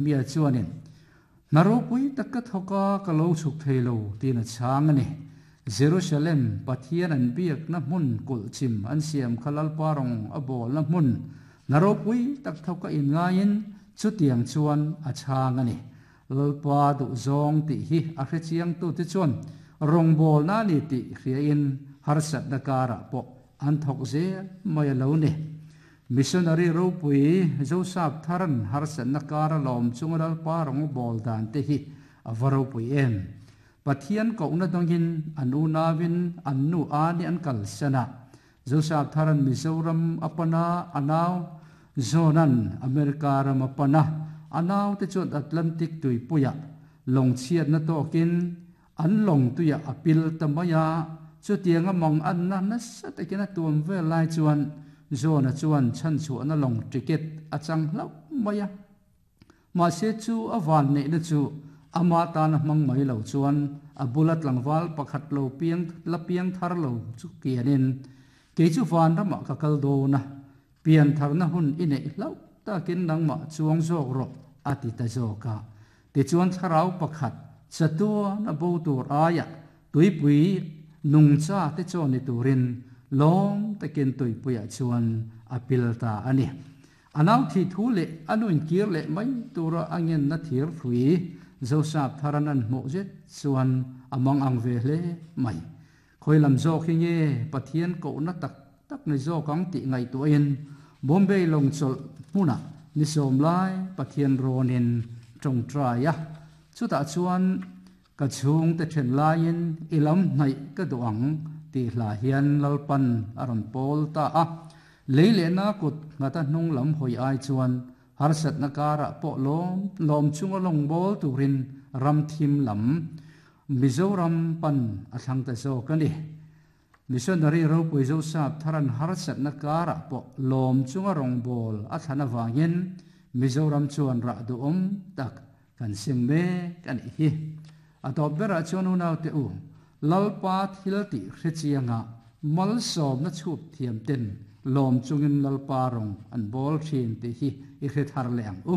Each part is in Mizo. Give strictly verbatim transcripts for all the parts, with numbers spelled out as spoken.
Mia chuanin naropui takka thoka ka lo chuk theilo tin a chang ani. Jerusalem Pathian an biak na hmun kul chim an siam khalal parong a bol na hmun naropui tak thoka in ngain chutiang chuan a chang ani. Lalpa du zong ti hi a hre chiang tu te chuan rong bol na ni ti hria in harsat na kara po an thok zel mai lo ni. Missionary ropui Joseph Tharan harsat na kara lom chungal pa rong bol dan te hi avaro pui em. Pathian ko na dongin anu nawin annu ani an kal sana. Joseph Tharan Mizoram apana anaw zonan America ram apana anaw te chuan Atlantic tui puya long chiat na tokin an long tuya apil tamaya chutianga mong an na na sa takina tuam ve lai chuan zona chuan chan chu na long ticket achang hlau maya. Ma se chu awan ne na chu ama ta na mang mai lo chuan abulat langwal pakhat lo piang la piang thar lo chu kianin ke chu van rama ka kal do na pian thar na hun ine hlau ta kin nang ma chuang jok ro ati ta joka te chuan tharau pakhat chatua na bo tur aya tuipui nungcha te choni turin lom takin tuipuia chuan apil ta ani. Anaw thi thu le anuin kir le mai tura angen na thir thui Joseph Tharanan mo zet chuan among ang ve hle mai. Khoilam zo khi nge Pathian ko na tak tak ni zo kang ti ngai tu in Bombay long chol hmuna ni som lai Pathian ronin tong traya chuta chuan ka chung te then lain ilam nai ka duang ti hla hian lalpan aron pol ta a leile na kut ngata hnung lam hoi ai chuan harsat na kara po lom lom chunga long bol turin ram thim lam Mizoram pan athang ta zo kani. Missionary ropui Joseph Tharan harsat na kara po lom chunga rong bol athana wangin Mizoram chuan ra du om tak kan sing me kan hi. Atop bera chuan unaw te u lalpa thil ti hrechianga mal som na chup thiam ten lom chungin lalpa rong an bol thin ti hi i hre thar le ang u.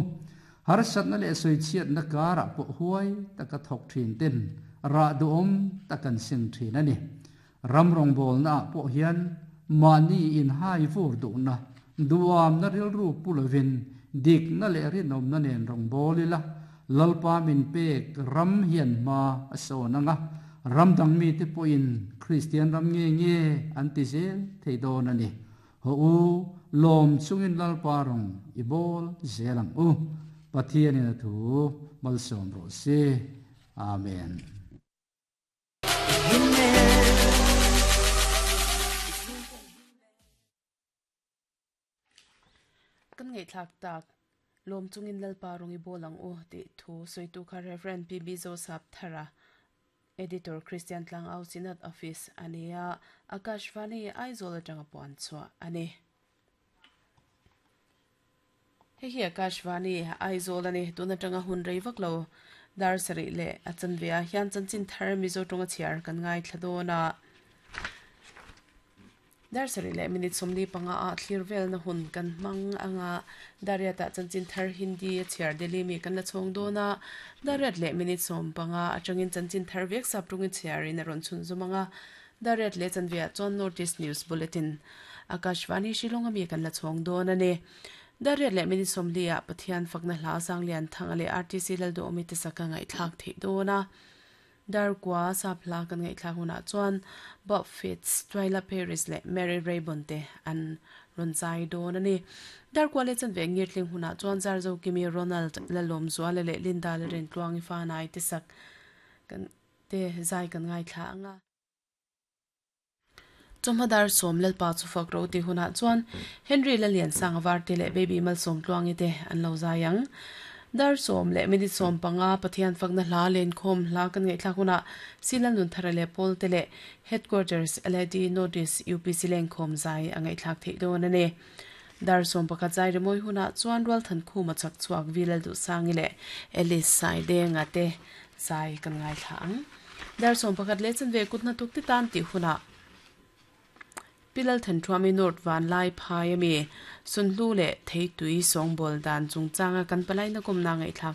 Harsat na le soi chiat na kara po huai taka thok thin ten ra du om takan sing thin ani. Ram rong bol na po hian mani in hai vur du na duam na ril ru pulovin dik na le rinom na nen rong bolila lalpa min pek ram hian ma aso na nga ram dang mi te po in Christian ram nge nge an ti zel thei don ani. Ho u lom chungin lalpa rong i bol zelang u Pathian in thu malsom ro se. Amen. Kan ngai thak tak lom chungin lalpa rong i bolang u ti thu soitu kha Reverend P B Joseph Thara Editor Christian Tlang Au Synod Office ania Akashvani Aizawl atanga puan chua ani. He hi Akashvani Aizawl ani tuna tanga hun rei vak lo dar sari le achan via hian chanchin thar Mizo tonga chiar kan ngai thladona dar sari le minute somli panga a thlir vel na hun kan mang anga daria ta chanchin thar Hindi chiar Delhi mi kan la chhong dona dariat le minute som panga atangin chanchin thar vek sap tungin chiar in ron chun zumanga dariat le chanvia chon notice news bulletin Akashvani Shillong ami kan la chhong dona ne dariat le minute somli a Pathian fakna hla sang lian thanga le R T C lal do omi te saka ngai thlak thei dona dar kwa sapla kan ngai thla huna chuan Bob Fitz Twyla Paris le Mary Raybon te an ron zai don ani. Dar kwa le chan ve ngirtling huna chuan zarzo kimi Ronald lalom zuala le Linda le ren tluang fa nai te sak kan te zai kan ngai thla anga chomhadar som lalpa chu fak ro ti huna chuan Henry lalian sangwar te le baby mal som tluangi te an lo zayang dar som le minute som panga Pathian fakna hla len khom hla kan ngai thla huna silan nun thara le pol te le headquarters L A D notice U P C leng khom zai angai thlak thei don ane. Dar som pakhat zai remoi huna chuan rual than khu ma chak chuak vilal du sangi le Alice sai de nga te zai kan ngai thla ang. Dar som pakhat le chan ve kutna tuk ti tan ti huna Pilal than thuami North Van Lai phai ami sunhlu le theitui songbol dan chungchanga kan palai na kom na ngai thlak